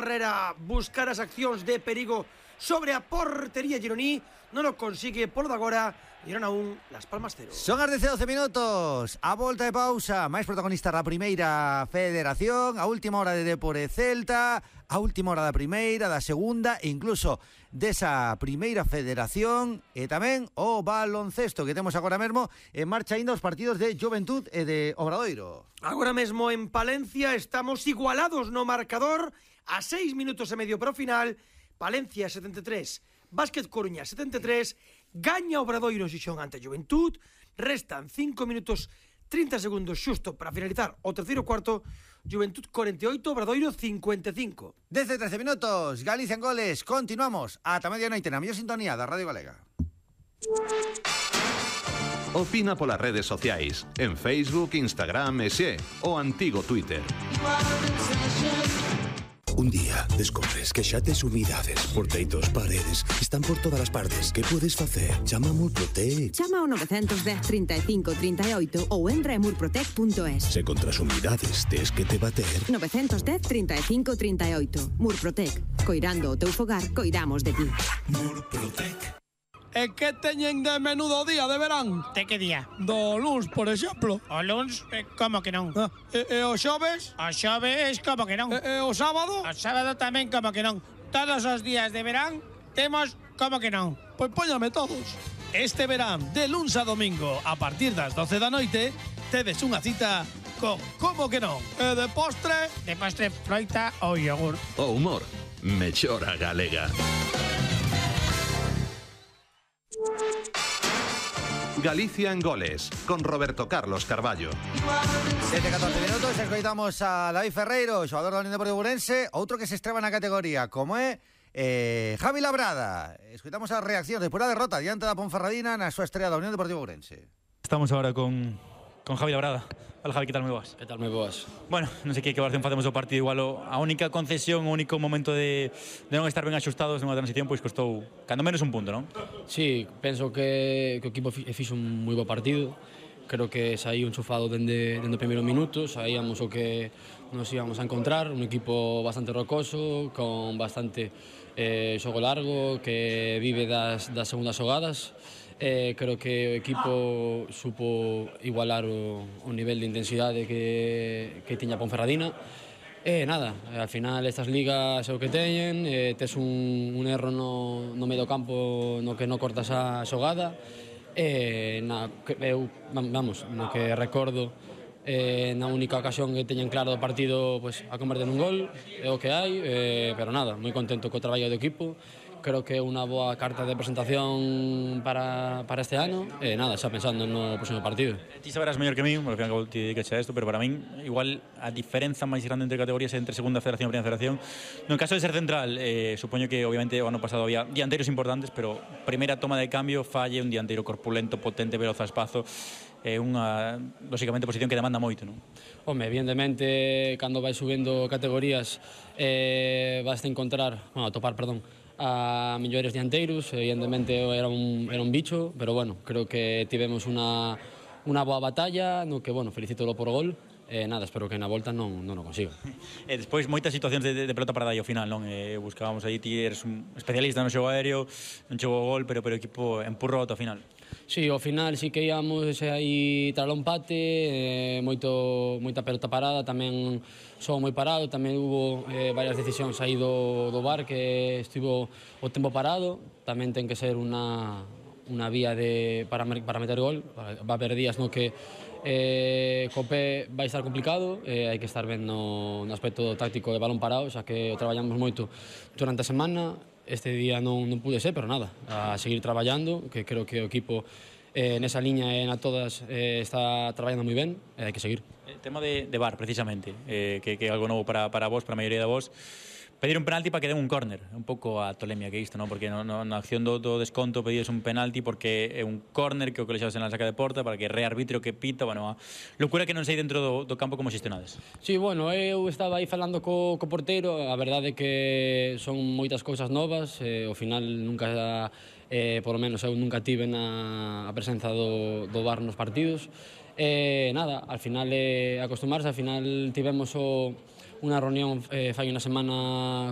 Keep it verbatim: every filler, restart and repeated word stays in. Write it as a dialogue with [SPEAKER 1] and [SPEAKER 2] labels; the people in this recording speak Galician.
[SPEAKER 1] Herrera buscar as accións de perigo sobre a portería gironí, non o consigue polo de agora. Girona un, Las Palmas cero.
[SPEAKER 2] Son as doce minutos, a volta de pausa, máis protagonista da primeira federación, a última hora de Depor e Celta, a última hora da primeira, da segunda e incluso desa primeira federación, e tamén o baloncesto que temos agora mesmo en marcha ainda os partidos de Juventud e de Obradoiro.
[SPEAKER 1] Agora mesmo en Palencia estamos igualados no marcador a seis minutos e medio para o final. Palencia setenta e tres, Básquet Coruña setenta e tres, gaña Obradoiro Xixón ante Juventud, restan cinco minutos trinta segundos xusto para finalizar o terceiro cuarto. Juventud cuarenta e oito, Obradoiro cincuenta e cinco.
[SPEAKER 2] Desde trece minutos, Galicia en goles, continuamos ata medianoite na mellor sintonía da Radio Galega.
[SPEAKER 3] Opina polas redes sociais, en Facebook, Instagram e xe, o antigo Twitter.
[SPEAKER 4] Un día descobres que xa tes humidades por teitos, paredes, están por todas as partes. Que podes facer? Chama a Murprotec.
[SPEAKER 5] Chama ao nove dez, trinta e cinco, trinta e oito ou entra en murprotec punto es.
[SPEAKER 4] Se contra as humidades tes que te bater.
[SPEAKER 5] nove dez, trinta e cinco, trinta e oito. Murprotec. Coirando o teu fogar, coidamos de ti.
[SPEAKER 4] Murprotec.
[SPEAKER 6] E que teñen de menudo día de verán?
[SPEAKER 7] De que día?
[SPEAKER 6] Do luns, por exemplo.
[SPEAKER 7] O luns? Eh, como que non?
[SPEAKER 6] Ah, e, e o xoves?
[SPEAKER 7] O xoves, como que non?
[SPEAKER 6] E, e o sábado?
[SPEAKER 7] O sábado tamén, como que non? Todos os días de verán temos como que non?
[SPEAKER 6] Pois póñame todos. Este verán, de luns a domingo, a partir das doce da noite, tedes unha cita con como que non? E de postre?
[SPEAKER 7] De postre, froita ou yogur.
[SPEAKER 3] O humor, mellora galega. Galicia en goles, con Roberto Carlos Carballo.
[SPEAKER 2] Desde catorce minutos escoitamos a David Ferreiro, xogador da Unión Deportiva Ourense, outro que se estreba na categoría, como é eh, Javi Labrada. Escoitamos as reaccións despois da derrota diante da Ponferradina na súa estrela da Unión Deportiva Ourense.
[SPEAKER 8] Estamos ahora con, con Javi Labrada. Hola Javi, que tal, moi boas?
[SPEAKER 9] Que tal, moi boas?
[SPEAKER 8] Bueno, non sei que que valoración facemos do partido, igual o, a única concesión, o único momento de, de non estar ben axustados nunha transición, pois costou cando menos un punto, non?
[SPEAKER 9] Sí, penso que, que o equipo fixo un moi bo partido. Creo que saí enchufado dende, dende o primeiro minuto, saíamos o que nos íbamos a encontrar, un equipo bastante rocoso, con bastante eh, xogo largo, que vive das, das segundas xogadas. Eh, creo que o equipo supo igualar o, o nivel de intensidade que, que tiña Ponferradina. E eh, nada, al final estas ligas é o que teñen, eh, tes un, un erro no, no medio campo no que non cortas a xogada. Eh, na, eu, vamos, no que recordo, eh, na única ocasión que teñen claro do partido, pues, a converter nun gol, é o que hai, eh, pero nada, moi contento co traballo do equipo. Creo que é unha boa carta de presentación para, para este ano e nada, xa pensando no próximo partido.
[SPEAKER 8] Ti saberás mellor que mí, porque ao final te dediques a isto, pero para min igual a diferenza máis grande entre categorías entre segunda federación e primeira federación. No caso de ser central, eh, supoño que obviamente o ano pasado había dianteiros importantes, pero primeira toma de cambio falle un dianteiro corpulento, potente, veloz a espazo. É unha, lógicamente, posición que demanda moito, non?
[SPEAKER 9] Home, evidentemente, cando vai subindo categorías, eh, vas a encontrar, bueno, a topar, perdón, a mellores dianteiros, evidentemente era un, era un bicho, pero bueno, creo que tivemos unha, unha boa batalla, no que, bueno, felicítolo por gol, e nada, espero que na volta non, non o consiga.
[SPEAKER 8] E despois moitas situacións de, de pelota para dar ao final, non? E buscábamos aí, ti eres un especialista no xogo aéreo, non chegou o gol, pero, pero o equipo empurrou ao final.
[SPEAKER 9] Sí, ao final sí que íamos aí tras o empate, eh, moito, moita pelota parada, tamén xogo moi parado, tamén hubo eh, varias decisións aí do, do V A R que estivo o tempo parado, tamén ten que ser unha, unha vía de, para, para meter gol, va a haber días no que eh, co pé vai estar complicado, eh, hai que estar ben no, no aspecto táctico de balón parado, xa que o traballamos moito durante a semana. Este día non, non pude ser, pero nada, a seguir traballando, que creo que o equipo eh, nesa liña e na todas eh, está traballando moi ben e hai que seguir.
[SPEAKER 8] El tema de, de V A R, precisamente, eh, que, que é algo novo para, para vos, para a maioría de vos. Pedir un penalti para que den un córner, un pouco a tolemia que isto, non? Porque no, no, na acción do, do desconto pedides un penalti porque é un córner que o colexabas en la saca de porta para que rearbitro que pita, bueno, a locura que non sei dentro do, do campo como xestionades.
[SPEAKER 9] Sí, bueno, eu estaba aí falando co, co porteiro, a verdade é que son moitas cousas novas, eh, ao final nunca, eh, por lo menos eu nunca tive na a presenza do, do V A R nos partidos, e eh, nada, al final é eh, acostumarse, al final tivemos o unha reunión eh, fai unha semana